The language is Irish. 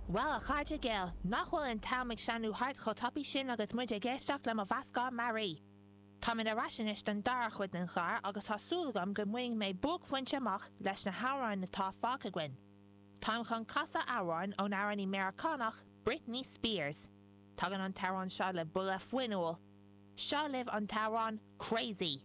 Bhuel, a chairde dhil, nach bhfuil an t-am ag sleamhnú thart chomh tapaidh sin agus muid ag éisteacht le mo mheascán mearaí. Táimid ar ais anois don dara chuid den chlár agus tá súil agam go mbainfidh mé buaicphointe amach leis na hamhráin atá fágtha againn. Táim chun casadh amhráin ón amhránaí Meiriceánach Britney Spears. Tagann an t-amhrán seo le buille fuinniúil. Seo libh an t-amhrán 'Crazy'.